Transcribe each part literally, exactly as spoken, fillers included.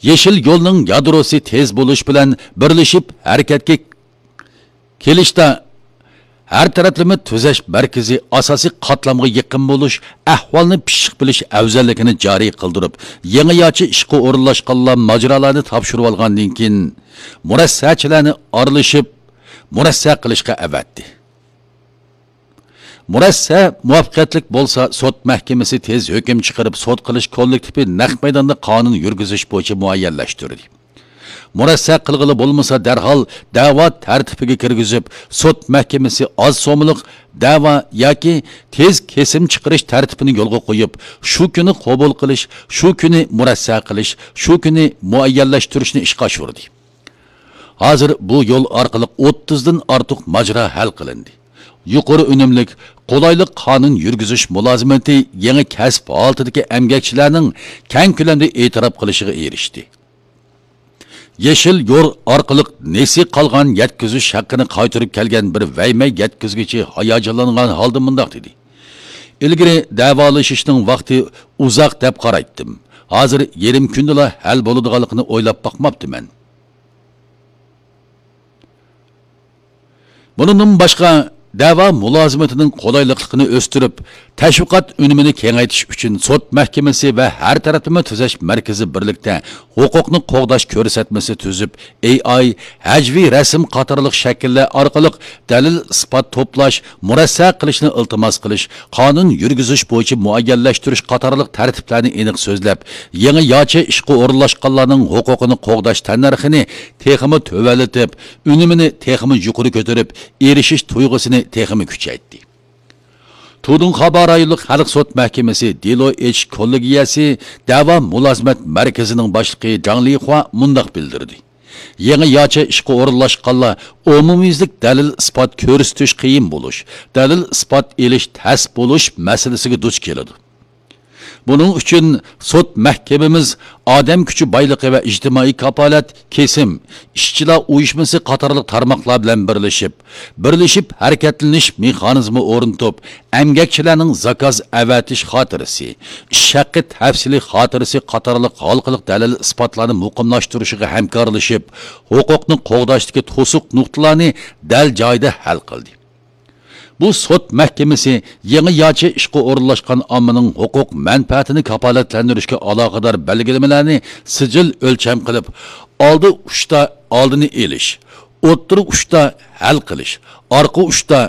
يېشىل يولنىڭ يادروسى تېز بولۇش بىلەن بىرلىشىپ ھەرىكەتكە كېلىشتە، ھەر تەرەپلىمە تۈزەش مەركىزى ئاساسىي قاتلامغا يېقىن بولۇش، ئەھۋالنى پىششىق بىلىش ئەۋزەللىكىنى جارى قىلدۇرۇپ، يېڭىچە ئىشقا ئورۇنلاشقانلار ماجىرالارنى تاپشۇرۇۋالغاندىن كېيىن، مۇرەسسەچىلەرنى ئارىلىشىپ، مۇرەسسە قىلىشقا ئەۋەتتى. مۇرەسسە مۇۋەپپەقىيەتلىك بولسا، سوت مەھكىمىسى تېز ھۆكۈم چىقىرىپ، سوت قىلىش كوللېكتىپى نەق مەيداندا قانۇن يۈرگۈزۈش بويىچە مۇئەييەنلەشتۈردى. مۇرەسسە قىلغىلى بولمىسا، دەرھال دەۋا تەرتىپىگە كىرگۈزۈپ، سوت مەھكىمىسى ئاز سوممىلىق دەۋا ياكى تېز كېسىم چىقىرىش تەرتىپىنى يولغا قويۇپ، شۇ كۈنى قوبۇل قىلىش، شۇ كۈنى مۇرەسسە قىلىش، شۇ كۈنى مۇئەييەنلەشتۈرۈشنى ئىشقا ئاشۇردى. ھازىر بۇ يول ئارقىلىق ئوتتۇزدىن ئارتۇق ماجىرا ھەل قىلىندى. يۇقىرى ئۈنۈملۈك، قولايلىق قانۇن يۈرگۈزۈش مۇلازىمىتى يېڭى كەسىپ ھالىتىدىكى ئەمگەكچىلەرنىڭ كەڭ كۆلەمدە ئېتىراپ قىلىشىغا ئېرىشتى. يېشىل يول ئارقىلىق نېسى قالغان يەتكۈزۈش ھەققىنى قايتۇرۇپ كەلگەن بىر ۋەيمەي يەتكۈزگۈچى ھاياجانلانغان ھالدا مۇنداق دېدى: ئىلگىرى دەۋالىشىشنىڭ ۋاقتى ئۇزاق دەپ قارايتتىم. ھازىر يېرىم كۈندىلا ھەل بولىدىغانلىقىنى ئويلاپ باقماپتىمەن. بۇنىڭدىن باشقا، دەۋا مۇلازىمىتىنىڭ قولايلىقلىقىنى ئۆستۈرۈپ، تەشۋىقات ئۈنۈمىنى كېڭەيتىش ئۈچۈن سوت مەھكىمىسى ۋە ھەر تەرەپلىمە تۈزەش مەركىزى بىرلىكتە ھوقۇقنى قوغداش كۆرسەتمىسى تۈزۈپ، ئېي ئاي، ھەجۋىي رەسىم قاتارلىق شەكىللەر ئارقىلىق دەلىل-ئىسپات توپلاش، مۇرەسسە قىلىشنى ئىلتىماس قىلىش، قانۇن يۈرگۈزۈش بويىچە مۇئەييەنلەشتۈرۈش قاتارلىق تەرتىپلەرنى ئېنىق سۆزلەپ، يېڭىچە ئىشقا ئورۇنلاشقانلارنىڭ ھوقۇقىنى قوغداش تەننەرخىنى تېخىمۇ تۆۋەنلىتىپ، ئۈنۈمىنى تېخىمۇ يۇقىرى كۆتۈرۈپ، ئېرىشىش تۇيغۇسىنى تېخىمۇ كۈچەيتتى. تۇدۇڭخابا رايونلۇق خەلق سوت مەھكىمىسى دېلو ئېچىش كوللېگىيەسى دەۋا مۇلازىمەت مەركىزىنىڭ باشلىقى جاڭ لىخۇا مۇنداق بىلدۈردى: يېڭىچە ئىشقا ئورۇنلاشقانلار ئومۇميۈزلۈك دەلىل-ئىسپات كۆرسىتىش قىيىن بولۇش، دەلىل-ئىسپات ئېلىش تەس بولۇش مەسىلىسىگە دۇچ كېلىدۇ. بۇنىڭ ئۈچۈن سوت مەھكىمىمىز ئادەم كۈچى بايلىقى ۋە ئىجتىمائىي كاپالەت، كېسىم، ئىشچىلار ئۇيۇشمىسى قاتارلىق تارماقلار بىلەن بىرلىشىپ، بىرلىشىپ ھەرىكەتلىنىش مېخانىزمى ئورنىتىپ، ئەمگەكچىلەرنىڭ زاكاز ئەۋەتىش خاتىرىسى، ئىش ھەققى تەپسىلىي خاتىرىسى قاتارلىق ھالقىلىق دەلىل-ئىسپاتلارنى مۇقىملاشتۇرۇشىغا ھەمكارلىشىپ، ھوقۇقنى قوغداشتىكى توسۇق نۇقتىلارنى دەل جايىدا ھەل قىلدى. بۇ سوت مەھكىمىسى يېڭىچە ئىشقا ئورۇنلاشقان ئاممىنىڭ ھوقۇق مەنپەئەتىنى كاپالەتلەندۈرۈشكە ئالاقىدار بەلگىلىمىلەرنى سىجىل ئۆلچەم قىلىپ، ئالدى ئۇچتا ئالدىنى ئېلىش، ئوتتۇرا ئۇچتا ھەل قىلىش، ئارقا ئۇچتا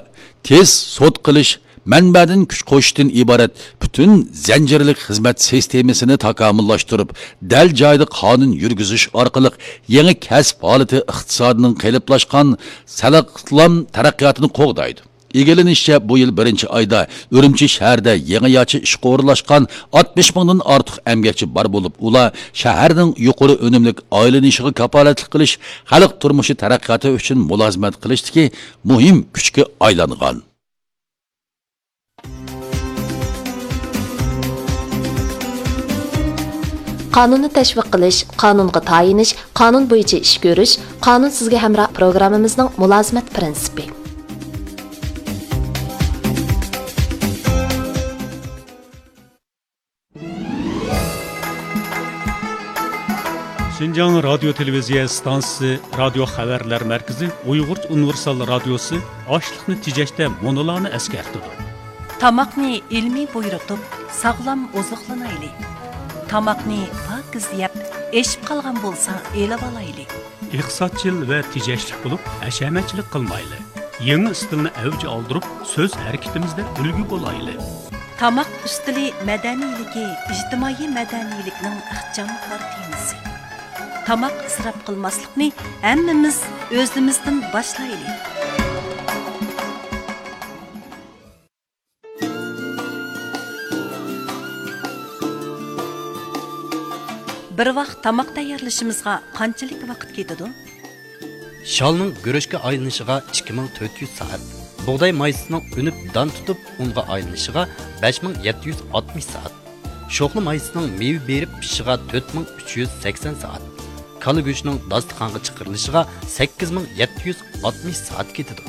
تېز سوت قىلىش، مەنبەدىن كۈچ قوشۇشتىن ئىبارەت پۈتۈن زەنجىرلىك خىزمەت سىستېمىسىنى تاكامۇللاشتۇرۇپ، دەل جايىدا قانۇن يۈرگۈزۈش ئارقىلىق يېڭى كەسىپ ھالىتى ئىقتىسادىنىڭ قېلىپلاشقان ساغلام تەرەققىياتىنى قوغدايدۇ. ئىگىلىنىشىچە، بۇ يىل بىرىنچى ئايدا ئۈرۈمچى شەھىرىدە يېڭىچە ئىشقا ئورۇنلاشقان ئاتمىش مىڭدىن ئارتۇق ئەمگەكچى بار بولۇپ، ئۇلار شەھەرنىڭ يۇقىرى ئۈنۈملۈك ئايلىنىشىغا كاپالەتلىك قىلىش، خەلق تۇرمۇشى تەرەققىياتى ئۈچۈن مۇلازىمەت قىلىشتىكى مۇھىم كۈچكە ئايلانغان. قانۇننى تەشۋىق قىلىش، قانۇنغا تايىنىش، قانۇن بويىچە ئىش كۆرۈش، قانۇن سىزگە ھەمراھ پروگراممىمىزنىڭ مۇلازىمەت پىرىنسىپى. شىنجاڭ رادىيو تېلېۋىزىيە ئىستانسىسى رادىيو خەۋەرلەر مەركىزى ئۇيغۇرچە ئۇنىۋېرسال رادىيوسى ئاشلىقنى تېجەشتە مۇنۇلارنى ئەسكەرتىدۇ. تاماقنى ئىلمىي بۇيرۇتۇپ، ساغلام ئوزۇقلىنايلى. تاماقنى پاكىز يەپ، ئېشىپ قالغان بولسا ئېلىۋالايلى. ئىقتىسادچىل ۋە تېجەشلىك بولۇپ، ھەشەمەتچىلىك قىلمايلى. يېڭى ئىستىلنى ئەۋج ئالدۇرۇپ، سۆز ھەرىكىتىمىزدە ئۈلگە بولايلى. تاماق ئۈستىلى مەدەنىيلىكى ئىجتىمائىي مەدەنىيلىكنىڭ ئىخچام كارتىنىسى. تاماق ئىسراپ قىلماسلىقنى ھەممىمىز ئۆزىمىزدىن باشلايلى. بىر ۋاق تاماق تەييارلىشىمىزغا قانچىلىك ۋاقىت كېتىدۇ؟ شالنىڭ گۈرۈچكە ئايلىنىشىغا ئىككى مىڭ تۆت يۈز سائەت، بۇغداي مايسىسىنىڭ ئۈنۈپ دان تۇتۇپ ئۇنغا ئايلىنىشىغا بەش مىڭ يەتتە يۈز ئاتمىش سائەت، شوخلا مايسىسىنىڭ مېۋە بېرىپ پىشىشىغا تۆت مىڭ ئۈچ يۈز سەكسەن سائەت، كالا گۆشىنىڭ داستىخانغا چىقىرىلىشىغا سەككىز مىڭ يەتتە يۈز ئاتمىش سائەت كېتىدۇ.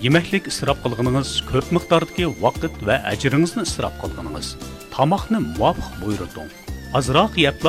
يېمەكلىك ئىسراپ قىلغىنىڭىز كۆپ مىقداردىكى ۋاقىت ۋە ئەجرىڭىزنى ئىسراپ قىلغىنىڭىز. تاماقنى مۇۋاپىق بۇيرۇتۇڭ. ئازراق يەپلا